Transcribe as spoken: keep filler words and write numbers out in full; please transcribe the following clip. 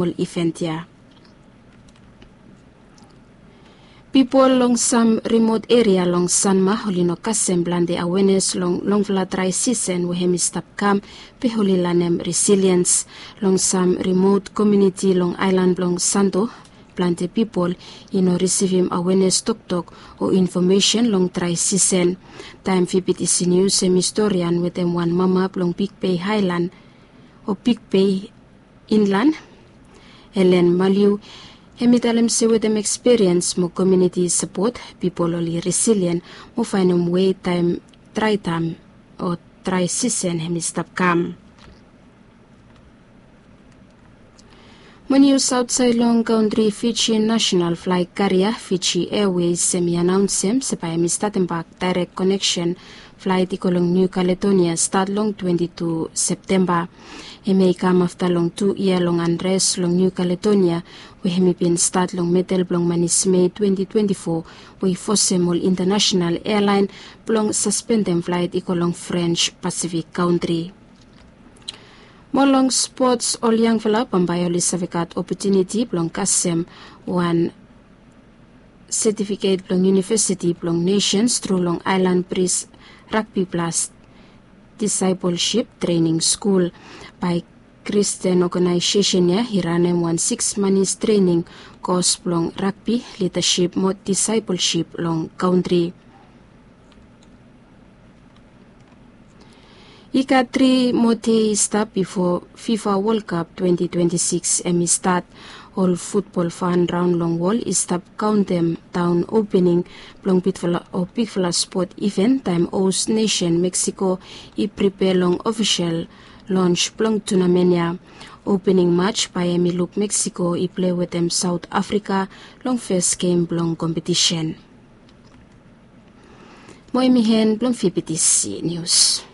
ol iven ya. Pipol long sam rimot eria long Sanma oli no kasem plante awenes long longfala drae sisen we hem i stap kam, be oli lanem resiliens. Long sam rimot komuniti long aelan blong Santo, plante pipol i no risivim awenes toktok o infomesen long drae sisen. Taem Fifty News hem i storian wetem wan mama blong Big Bay Haelan o Big Bay Inlan, Elen Maliu, hem i talem se wetem ekspiriens mo komuniti sapot, pipol oli resilien mo faenem wei taem drae taem o drae sisen hem i stap kam. Mo nius aotsaed long kantri, Fiji nasenal flae karia Fiji Airways hem i anaonsem se bae hem i statem bak daerek koneksen flaet i go long Niu Kaledonia stat long twenti tu Septemba. Hemia i kam afta long tu yia long anres long Niu Kaledonia, we hem i bin stat long medel blong manis Mei twenti twenti fo, we i fosem ol intanasenal ealaen blong saspendem flaet i go long Frens Pasifik kantri. Mo long spots, ol yangfala bambae oli save gat opotuniti blong kasem wan setifiket blong Univesiti blong Nesens tru long Aelan Bris Ragbi Blas Disaepolsip Trening Skul. Bae Kristen oganaesesen ya i ranem wan siks manis trening kos blong ragbi, lidasip mo disaepolsip long kantri. I gat tri mo dei i stap bifo Fifa Wol Kap twenti twenti sikis hem i stat. Ol futbol fan raon long wol i stap kaontem daon opening blong bigfala o bigfala spot iven taem hos nesen Meksiko i pripea long ofisel lons blong tunamen ya. Opening mats bae hem i luk Meksiko i plei wetem Saot Afrika long fes gem blong kompetisen. Mo hem i hen blong Fifty Nius.